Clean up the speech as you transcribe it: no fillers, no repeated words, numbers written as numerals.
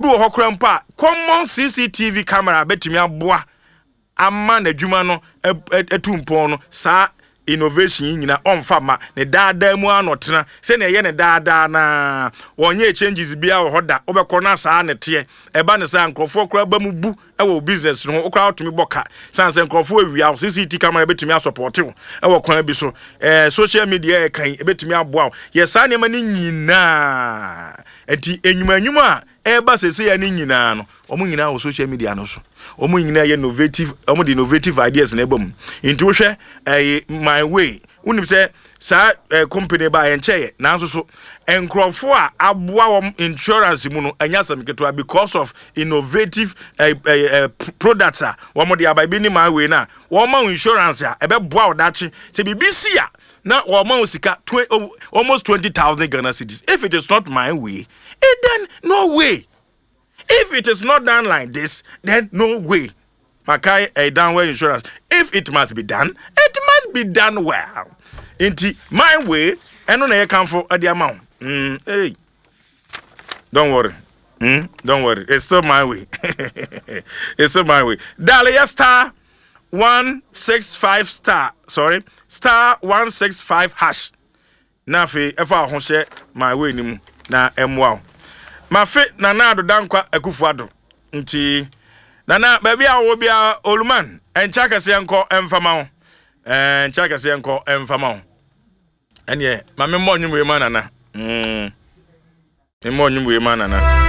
Obi wɔ hɔ koraa mpo a common CCTV camera bɛtumi aboa ama n'adwuma no atu mpɔn no, saa innovation yi nyina ɔmfa mma. Ne daadaa mu ara na ɔtena. Sɛnea ɛyɛ ne daadaa no ara. Wɔnyɛɛ changes biara wɔ hɔ da. Wobɛkɔ na saa na ɛteɛ. Ɛba no saa a, nkurɔfoɔ koraa ba mu bu wɔ wo business no ho. Wo koraa wotumi bɔ ka. Sane sɛ nkurɔfoɔ awia wo. CCT camera bɛtumi asɔpɔte wo wɔ kwan bi so. Ɛɛ social media a yɛka yi, ɛbɛtumi aboa wo. Yɛ saa nneɛma no nyinaa. Nti nnwuma nnwuma a ɛreba seesei no nyinaa no, wɔn nyinaa wɔ social media no so. Wɔn nyinaa yɛ innovative, wɔn de innovative ideas na ɛba mu. Nti wohwɛ ɛyɛ my way, wonim sɛ saa ɛɛ company ba yɛn kyɛɛ nanso so nkurɔfoɔ a aboa wɔn insurance mu no ɛnyɛ asɛm ketewa because of innovative ɛɛ ɛɛ products a wɔn de aba ebi ne my way na wɔn ma insurance a ɛbɛboa ɔdakye sɛ biribi si a na wɔn ma sika almost 20,000 Ghana cedis. If it is not my way, eh, then no way. If it is not done like this, then no way. Makai a downward insurance. If it must be done, it must be done well. Nti my way, ɛno na yɛkamfo de ama wo. Hey. Don't worry. Don't worry. It's still my way. It's still my way. Dale yes star 165 star. Sorry. Star 165 hash. Na afei ɛfa wo ho hyɛ my way no mu na ɛmmoa wo. Mafe Nana Addo Dankwa Akufo Addo nti Nana baabi a wowɔ biara Oluman ɛnkyɛ akɛseɛ nkɔ ɛmfa ma wo. Ɛnkyɛ akɛseɛ nkɔ ɛmfa ma wo. Ɛneɛ ma memmɔ nnwom wei ma Nana. Memmɔ nnwom wei ma Nana.